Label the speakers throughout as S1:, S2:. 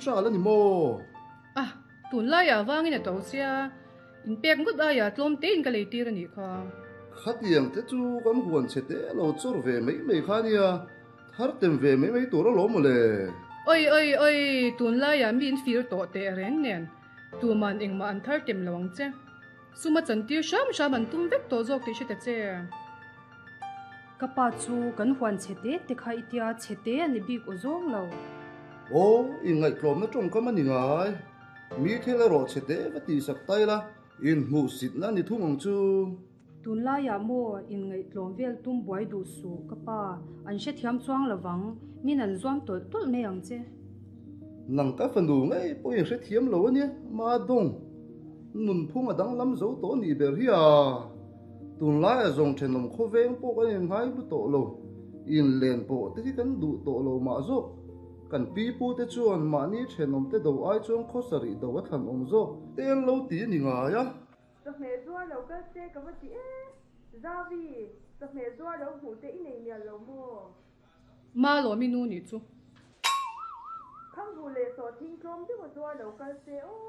S1: Ṭal a ni maw?
S2: A, tunlaiah vangin a to sia, inpek ngawt aia tlawm tein ka leitir a nih kha.
S1: Khatiang te chu kan huan chhe te lo chawr ve mai mai kha nia, thar tem ve mai mai tur alawm mawle.
S2: Oi oi oi, tunlaiah mi in fir tawh teh reng nen, tuman engmah an thar tem lo ang che. Suma chantir hram hram an tum vek tawh zawk tih hre ta che.
S3: Ka pa chu kan huan chhe te te kha i tia chhe te a ni bik aw zawng lo.
S1: Aw, inngaihtlawmna tawngkam a ni ngai. Mi thil erawh chhe te va tihsak ta ila, inhmuhsitna a ni thung ang chu.
S3: Tunlaiah maw inngaihtlawm vel tum buai duh suh ka pa, an hrethiam chuang lovang, min an zuam tawlh tawlh mai ang che.
S1: Nang ka fanu ngei pawh in hrethiam lo a nia, Madong. Nunphung a danglam zo tawh a nih ber hi a. Tunlaia zawng thenawm khawveng pawh kan innghai hlu tawh lo, inlen pawh te hi kan duh tawh lo mah zawk. Kan pi pu te chuan mahni thenawm te do ai chuan khawsarih do a thlan awm zawk. Te an lo ti a ni ngai a.
S4: Chawhmeh zuar lo kal se ka va ti e. Zavi, chawhmeh zuar lo hmuh te i nei mial lo maw?
S2: Malawmi nu nih chu.
S4: Khanghu leh sawhthing tlawm deuh a zuar lo kal se aw.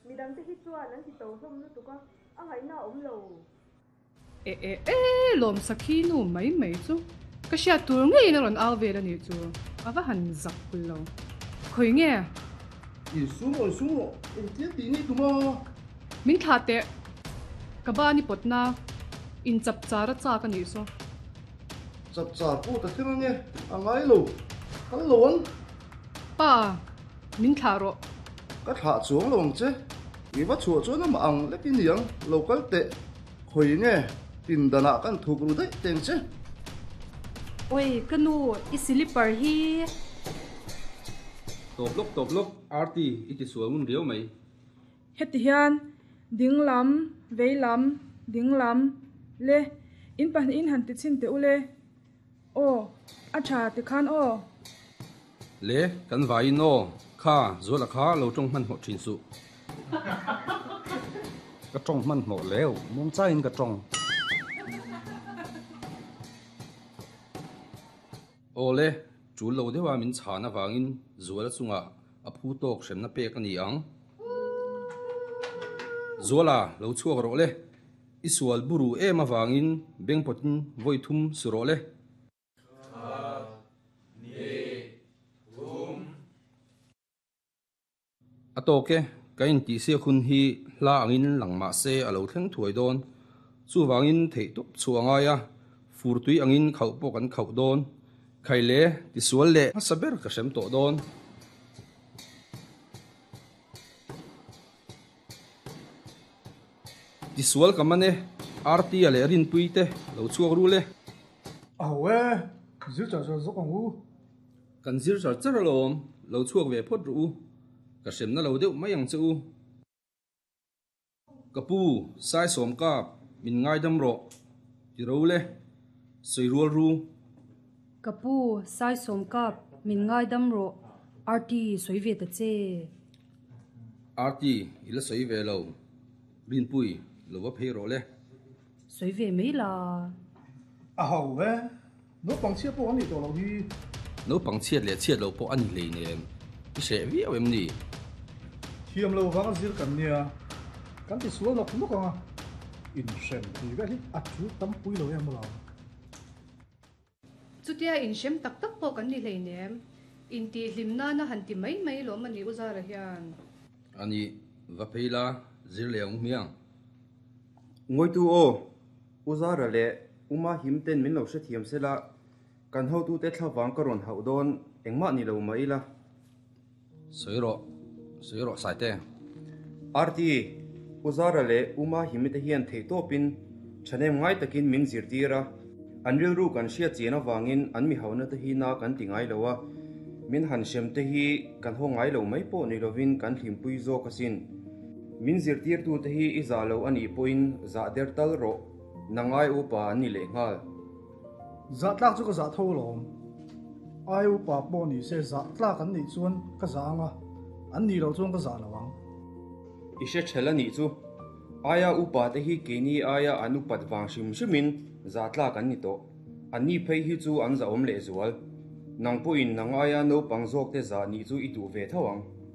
S4: Midangte hi chuan an ti to hlawm lutuk a, a ngaihna a awm lo.
S2: E e e, lawm sakhi nu mai mai chu ka hriat tur ngeiin a rawn au vel a nih chu, a va han zak pul lo. Khawi nge?
S1: Insum rawh, insum rawh, engtia tih ngei tum a?
S2: Min thlah teh, ka ban i pawtna in chap char a chak a nih saw.
S1: Chap char pawh ta thleng ange, a ngai lo, kal lo ang.
S2: Pa, Min thlah rawh.
S1: Ka thlah chuang lo ang che. I va chhuah chuan amah ang lek i niang, lo kal teh. Khawi nge pindanah kan thuk ru daih teng che.
S3: Oi, ka nu, i silipar hi.
S5: Tawp lawk tawp lawk, Arti, i ti sual ngun riau mai.
S6: Heti hian ding lam, vei lam, ding lam, le in pahnihin han ti chhin teh u le. Aw, a tha tikhan aw.
S5: Le, kan vaiin aw, kha, Zuala kha lo tawng hmanhmawh thin suh.
S7: Ka tawng hmanhmawh leu, muangchaiin ka tawng.
S5: Aw le, tul lo deuha min chhan avangin Zuala chungah a phu tawk hremna pek a ni ang. Zuala, lo chhuak rawh le. I sual buru em avangin bengpawtin vawi thum su rawh le. A tawk e, ka intihsiak hun hi hla angin lang mah se a lo thleng thuai dawn. Chuvangin theih tawp chhuah a ngai a, fur tui angin khauh pawh kan khauh dawn. Khai le, tisual leh hmasa ber ka hrem tawh dawn. Tisual ka man e, Artia leh Rinpui te lo chhuak ru le.
S8: A ho e, zir char char zawk ang u.
S5: Kan zir char char alawm, lo chhuak ve phawt rawh u. Ka hremna lo deuh mai ang che u. Ka pu, Saisawm kap, min ngaidam rawh, ti ro le, sawi rual ru.
S3: Ka pu, Saisawm kap, min ngaidam rawh, Arti sawi ve ta che.
S5: Arti, i la sawi ve lo, Rinpui, lo va phei rawh le.
S3: Sawi ve mai la.
S8: A ho e, naupang chhiat pawh an nih tawh loh hi.
S5: Naupang chhiat leh chhiat loh pawh a ni hleinem, i hreh viau em ni?
S8: Thiam lo vang a zir kan nia, kan ti sual nawk nawk ang a, inhrem tih vel hi a tul tam pui lo em alawm.
S2: Chutia inhrem tak tak pawh kan ni hleinem, intihhlim nana han ti mai mai lawm a ni U Zara hian.
S5: A ni, va phei la, zir leh ang hmiang.
S9: Ngawitu aw, U Zara leh U Mahim ten min lo hrethiam sela, kan hotute thlavang ka rawn hauh dawn engmah ni lo mah ila.
S5: Sawi rawh, sawi rawh Saite.
S9: RT, U Zara leh U Mahimi te hian theihtawpin thahnem ngai takin min zirtir a, an rilru kan hriat chian avangin an mi hauna te hi na kan ti ngai lo a, min han hrem te hi kan haw ngai lo mai pawh ni lovin kan hlimpui zawk asin. Min zirtirtute hi i zah lo a nih pawhin zah der tal rawh, na ngai upa an ni leh nghal.
S8: Zah tlak chu ka zah tho alawm. Ai upa pawh ni se zah tlak an nih chuan ka zah ang a, an nih loh chuan ka zah lo ang.
S9: I hre ṭhel a nih chu. Aia upa te hi keini aia an upat vang hrim hrimin zah tlak an ni tawh. Anni phei hi chu an zahawm lehzual. Nang pawhin nang aia naupang zawkte zah nih chu i duh ve tho ang.